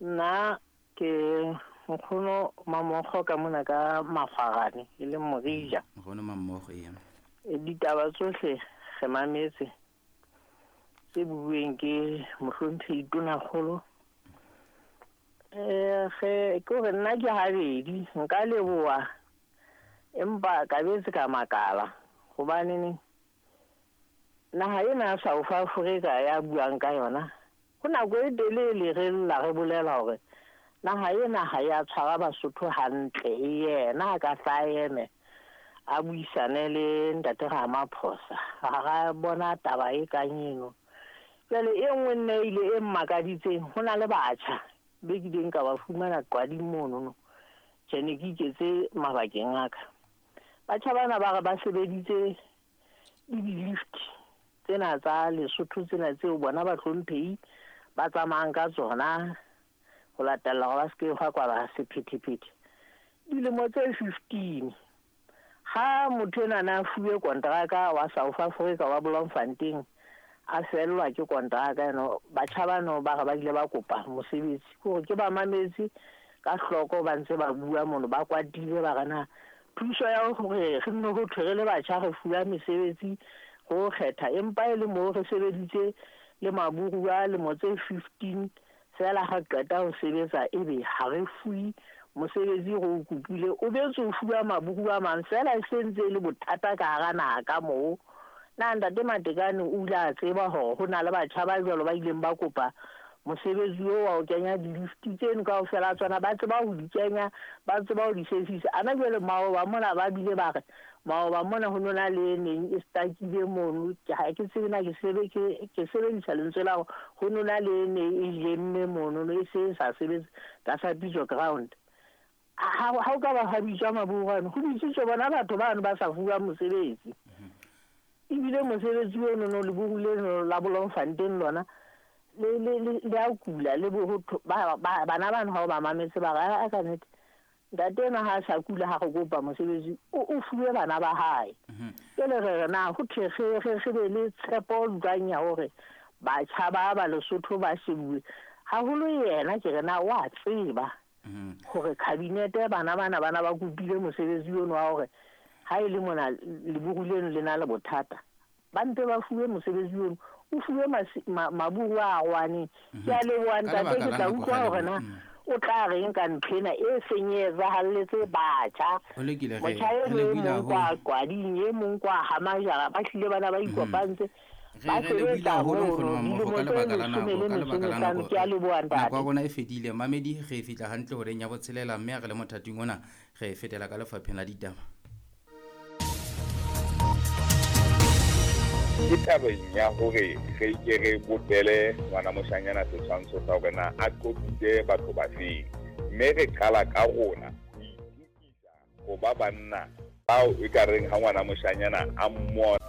Nna ke nkgono Mamokgo ka mona ka Makgwarane e leng Morija. Nkgono Mamokgo, ee. Ditaba tsohle re mametse tse bueng ke mohlomphehi Tonakgolo. Ge ke gore nna ke habedi nka leboha empa ka betse ka makala hobaneneng naha ena ya South Africa ya buang ka yona ho nako e telele re lla re bolela hore naha ena ha ya tshwara Basotho hantle. Yena a ka hla eme a buisane le ntate Ramaphosa ha ra bona taba e kang eno. Jwale e nngwe nna ile e mmakaditseng, ho na le batjha be kileng ka ba fumana qwading monono. Tjhe, ne ke iketse mabakeng a ka. Batjha bana ba re ba sebeditse le di-lift tsena tsa Lesotho tsena tseo bona bahlomphehi ba tsamayang ka tsona ho latella hore ba se ke hwa kwala sephethephethe. Dilemo tse 15 ha motho enwa na fuwe kontraka wa South Africa wa Bloemfontein a fellwa ke kontraka eno, batjha bano ba re ba ile ba kopa mosebetsi. Ke hore ke ba mametse ka hloko ba ntse ba bua mono, ba kwatile ba re na thuso ya hore re nne ho thwe re le batjha re fuwa mesebetsi ho kgetha, empa e le moo re sebeditse le maburu a lemo tse 15 fela ha qeta ho sebetsa ebe ha re fuwe mosebetsi re o kopile, o betse o fuwa maburu a mang fela e se ntse e le bothata ka hara naha ka moo. Na ntate Matekane o ile a tseba hore ho na le batjha ba jwalo ba ileng ba kopa mosebetsi oo wa ho kenya di-lift tseno kaofela tsona, ba tseba ho di kenya, ba tseba ho di sebedisa. Ana jwale maoba mona ba bile ba re maoba mona ho nona le neng e stakile mono, ha ke tsebe na ke ke sebedisa lentswe la hore ho nona le ne e jemme mono, e se sa sebetse tlasa pitso ground. Ha o ka ba ha bitswa maburu ano, ho bitsitswe bona batho bano ba sa fuwa mosebetsi. Ebile mosebetsi ono no leburu leno la Bloemfontein lona le a kula le bo bana bano ha o ba mametse ba re a ka nnete ntate enwa ha a sa kula ha re kopa mosebetsi o fuwe bana ba hae. Jwale re re na ho thwe re be le tshepo jwang ya hore batjha ba ba Lesotho ba shebuwe haholo. Yena ke re na wa tseba hore kabinete bana bana bana ba kopile mosebetsi ono wa hore ha e le mona leburu leno le na le bothata, ba mpe ba fuwe mosebetsi ono, o fuwe maburu a rwaneng. Ke a leboha ntate, ke tla utlwa hore na o tla reng ka nthwena e seng e etsahalletse batjha. Motjha e mong kwa Qwading, e mong kwa Hamajara, ba hlile bana ba ikopantse ba sebetsa mono dilemo tse leshome le metso e mehlano. Ke a leboha ntate. Nako ya rona e fedile mamedi, re fihla hantle horeng ya botshelela, mme ha re le mothating ona re fetela ka lefapheng la ditaba. Ke tabeng ya hore re ke re bopele ngwana moshanyana setshwantsho sa hore na a qotsitse batho ba feng, mme re qala ka rona ho itokisa ho ba banna bao e ka reng ha ngwana moshanyana a mmona.